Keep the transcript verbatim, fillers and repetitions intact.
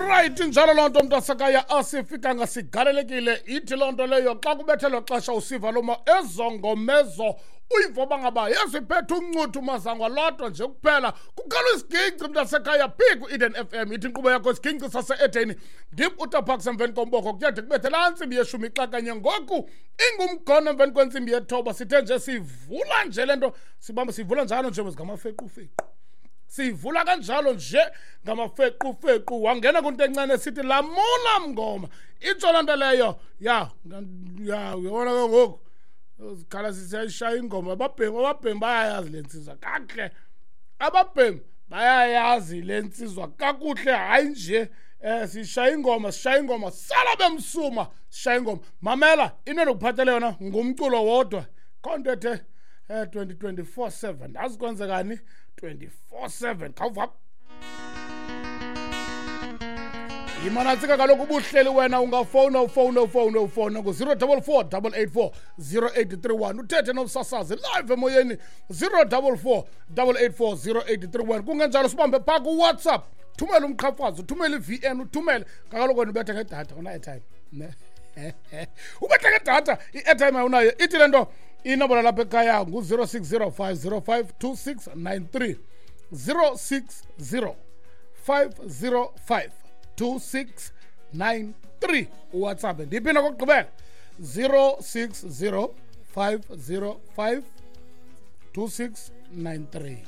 Right, njalo loo nto mntasekhaya, asifikanga sigalelekile. Ithi loo nto leyo xa kubethelwa xesha usiva loma ezongomezo uyiva uba ngaba yeziphethe uncuthu mazangwa lodwa nje kuphela kukhala isiginci mntasekhaya phi ku-Eden F M. Ithi inkqubo yakho isiginci sase-Edeni, ndim uTaparks emveni komboko kuyade kubethe laa ntsimbi yeshumi xa kanye ngoku ingumgono emveni kwentsimbi yethoba. Sithe nje sivula nje le nto sibamba sivula njalo nje ngamafequfequ, sivula kanjalo nje ngamafequfequ. Wangena kwinto encane sithi lamula mngoma, itsho loo nto leyo ya ya uyabona ke ngoku zikhala sisayishaya ingoma. Ababhemi ababhemi bayayazi le ntsizwa kakuhle, ababhemi bayayazi le ntsizwa kakuhle. Hayi nje eh sishaya ingoma, sishaya ingoma sala bemsuma, sishaya ingoma. Mamela, into endikuphathele yona ngumculo wodwa. Khonto ethe eh twenty twenty-four seven azi kwenzekani twenty-four seven. Khawuva imanantsika kaloku ubuhleli wena ungafowuna ufowune ufowune ufowune ngu-zero double four double eight four zero eight three one uthethe nomsasazi live emoyeni zero double four double eight four zero eight three one. Kungenjalo sibambe phaa kuWhatsApp, thumele umqhafazo, uthumele i-V N, uthumele kaloku wena ubethe ngedatha una-airtime ne ubethe ngedatha i-airtime awunayo. Ithi le nto inombolo lapha ekhaya ngu-zero six zero five zero five two six nine three, zero six zero five zero five two six nine three. uWhatsApp ndiphinda kokugqibela zero six zero five zero five two six nine three.